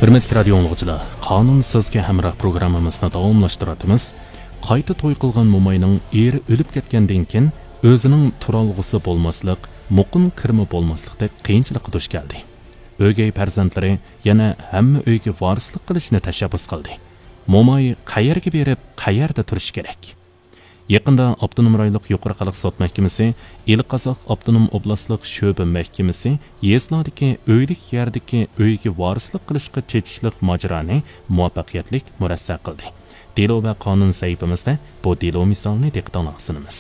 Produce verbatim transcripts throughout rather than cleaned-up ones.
ھۆرمەتلىك رادىيو ئاڭلىغۇچىلار، قانۇن سىزگە ھەمراھ پروگراممىمىزنى داۋاملاشتۇرۇۋاتىمىز. قايتا توي قىلغان موماينىڭ ئېرى ئۆلۈپ كەتكەندىن كېيىن ئۆزىنىڭ تۇرالغۇسى بولماسلىق، مۇقىم كىرىمى بولماسلىقتەك قىيىنچىلىققا دۇچ كەلدى. ئۆگەي پەرزەنتلىرى يەنە ھەممە ئۆيگە ۋارىسلىق قىلىشنى تەشەببۇس قىلدى. موماي قەيەرگە بېرىپ، قەيەردە تۇرۇشى كېرەك؟ يېقىندا ئاپتونوم رايونلۇق يۇقىرى خەلق سوت مەھكىمىسى، ئىلى قازاق ئاپتونوم ئوبلاستلىق شۆبە مەھكىمىسى يېزىلاردىكى ئۆيلۈك يەردىكى ئۆيگە ۋارىسلىق قىلىشقا چېتىشلىق ماجىرانى مۇۋەپپەقىيەتلىك مۇرەسسە قىلدى. دېلو ۋە قانۇن سەھىپىمىزدە بۇ دېلو مىسالىنى دىققىتىڭلارغا سۇنىمىز.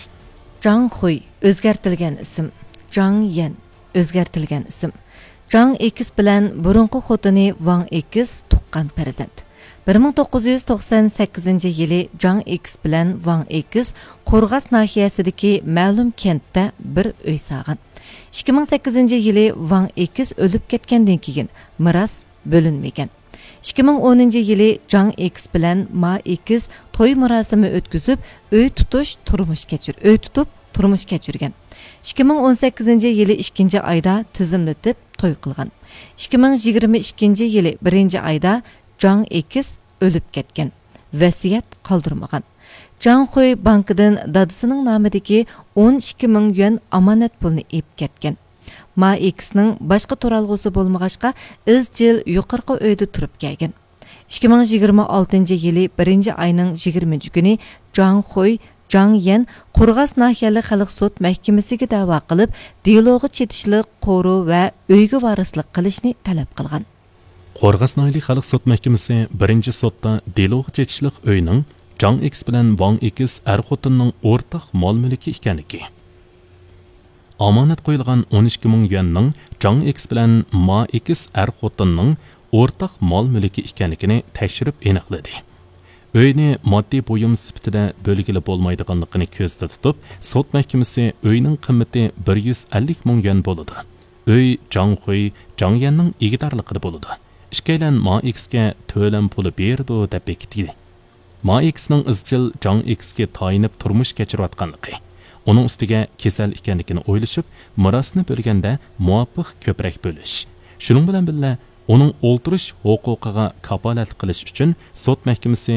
جاڭ خۇي، ئۆزگەرتىلگەن ئىسىم، جاڭ يەن، ئۆزگەرتىلگەن ئىسىم. جاڭ ئېكس بىلەن بۇرۇنقى خوتۇنى ۋاڭ ئېكس تۇغقان پەرزەنت. بىر مىڭ توققۇز يۈز توقسان سەككىزىنچى يىلى جاڭ ئېكس بىلەن ۋاڭ ئېكس قورغاس ناھىيەسىدىكى مەلۇم كەنتتە بىر ئۆي سالغان. ئىككى مىڭ سەككىزىنچى يىلى ۋاڭ ئېكس ئۆلۈپ كەتكەندىن كېيىن مىراس بۆلۈنمىگەن. ئىككى مىڭ ئونىنچى يىلى جاڭ ئېكس بىلەن ما ئېكس توي مۇراسىمى ئۆتكۈزۈپ، ئۆي تۇتۇش، تۇرمۇش كەچۈر-، ئۆي تۇتۇپ، تۇرمۇش كەچۈرگەن. ئىككى مىڭ ئون سەككىزىنچى يىلى ئىككىنچى ئايدا تىزىملىتىپ توي قىلغان. ئىككى مىڭ يىگىرمە ئىككىنچى يىلى بىرىنچى ئايدا جاڭ ئېكس ئۆلۈپ كەتكەن. ۋەسىيەت قالدۇرمىغان. جاڭ خۇي بانكىدىن دادىسىنىڭ نامىدىكى ئون ئىككى مىڭ يۈەن ئامانەت پۇلنى ئېلىپ كەتكەن. ما ئېكسنىڭ باشقا تۇرالغۇسى بولمىغاچقا، ئىزچىل يۇقىرىقى ئۆيدە تۇرۇپ كەلگەن. ئىككى مىڭ يىگىرمە ئالتىنچى يىلى بىرىنچى ئاينىڭ يىگىرمىنچى كۈنى جاڭ خۇي، جاڭ يەن قورغاس ناھىيەلىك خەلق سوت مەھكىمىسىگە دەۋا قىلىپ، دېلوغا چېتىشلىق قورۇ ۋە ئۆيگە ۋارىسلىق قىلىشنى تەلەپ قىلغان. قورغاس ناھىيەلىك خەلق سوت مەھكىمىسى بىرىنچى سوتتا دېلوغا چېتىشلىق ئۆينىڭ جاڭ ئېكس بىلەن ۋاڭ ئېكس ئەر خوتۇننىڭ ئورتاق مال مۈلكى ئىكەنلىكى، ئامانەت قويۇلغان ئون ئىككى مىڭ يۈەننىڭ جاڭ ئېكس بىلەن ما ئېكس ئەر خوتۇننىڭ ئورتاق مال مۈلكى ئىكەنلىكىنى تەكشۈرۈپ ئېنىقلىدى. ئۆينى ماددىي بۇيۇم سۈپىتىدە بۆلگىلى بولمايدىغانلىقىنى كۆزدە تۇتۇپ، سوت مەھكىمىسى ئۆينىڭ قىممىتى بىر يۈز ئەللىك مىڭ يۈەن بولىدۇ. ئۆي جاڭ خۇي، جاڭ يەننىڭ ئىگىدارلىقىدا بولىدۇ. ئىككىيلەن ما ئېكسكە تۆلەم پۇلى بېرىدۇ دەپ بېكىتتى. ما ئېكسنىڭ ئىزچىل جاڭ ئېكسكە تايىنىپ تۇرمۇش كەچۈرۈۋاتقانلىقى، ئۇنىڭ ئۈستىگە كېسەل ئىكەنلىكىنى ئويلىشىپ، مىراسنى بۆلگەندە مۇۋاپىق كۆپرەك بۆلۈش، شۇنىڭ بىلەن بىللە، ئۇنىڭ ئولتۇرۇش ھوقۇقىغا كاپالەتلىك قىلىش ئۈچۈن سوت مەھكىمىسى